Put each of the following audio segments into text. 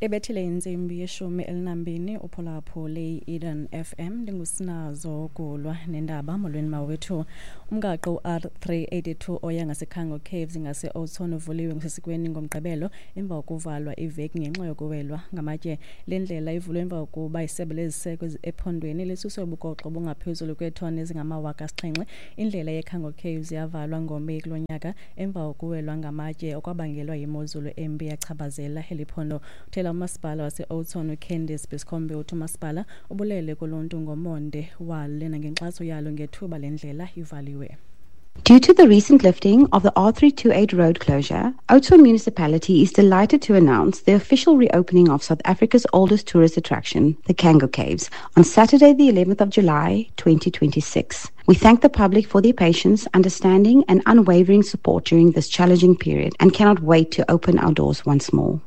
Ebethile intsimbi yeshumi elinambini uphulaphule i-Eden FM. Ndingusinazo Gulwa nendaba. Molweni mawethu. Umgaqo u-R382 oya ngaseKhango Caves ngase-Oudtshoorn uvuliwe ngosesikweni ngoMgqibelo emva kokuvalwa iveki ngenxa yokuwelwa ngamatye. Le ndlela ivulwe emva kokuba isebe leziseko ephondweni lisuse ubugoxo obungaphezulu kweetoni ezingama-7,000. Indlela yeKhango Caves yavalwa ngoMeyi kulo nyaka emva kokuwelwa ngamatye okwabangelwa yimozulu embi yachaphazela eli phondo. Uthela umasipala wase-Oudtshoorn uCandice Buscombe uthi umasipala ubulele kuluntu ngomonde walo nangenkxaso yalo ngethuba le ndlela ivaliwe. Due to the recent lifting of the R328 road closure, Oudtshoorn Municipality is delighted to announce the official reopening of South Africa's oldest tourist attraction, the Cango Caves, on Saturday, the 11th of July, 2026. We thank the public for their patience, understanding, and unwavering support during this challenging period and cannot wait to open our doors once more.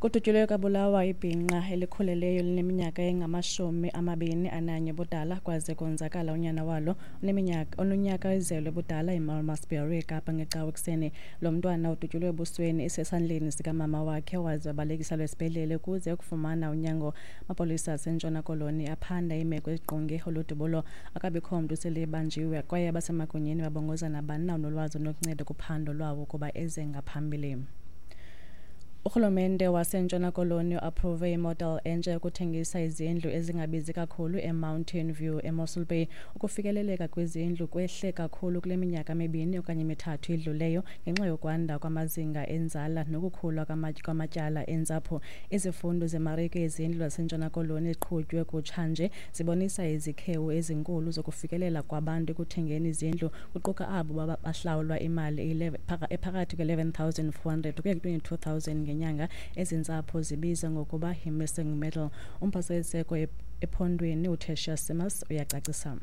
Kudutyulwe kwabulawa ibhinqa elikhuleleyo lineminyaka engama-21 budala kwaze konzakala unyana walo oneminyaka ononyaka ezelwe budala eMalmesbury eKapa ngeCawa ekuseni. Lo mntwana udutyulwe ebusweni esesandleni sikamama wakhe waze wabalekiselwa esibhedlele ukuze ukufumana unyango. Amapolisa aseNtshona Koloni aphanda iimeko ezingqonge olu dubulo. Akabikho mntu sele ebanjiwe kwaye abasemagunyeni babongoza nabani na onolwazi onokunceda kuphando lwawo ukuba eze ngaphambili. Urhulumente waseNtshona Koloni uapprove imodel entsha yokuthengisa izindlu ezingabizi kakhulu eMountain View eMossel Bay. Ukufikeleleka kwezindlu kwehle kakhulu kule minyaka mibini okanye mithathu idluleyo ngenxa yokwanda kwamazinga enzala nokukhula kwamatyala entsapho. Izifundo zemarike yezindlu zaseNtshona Koloni eziqhutywe kutshanje zibonisa izikhewu ezinkulu zokufikelela kwabantu ekuthengeni izindlu, kuquka abo bahlawulwa imali ephakathi kwe-11 400 ukuya kwi-22 000 ngenyanga. Ezi ntsapho zibiza ngokuba yi-missing middle. Umphathiswa weziseko ephondweni uTertuis Simmers uyacacisa.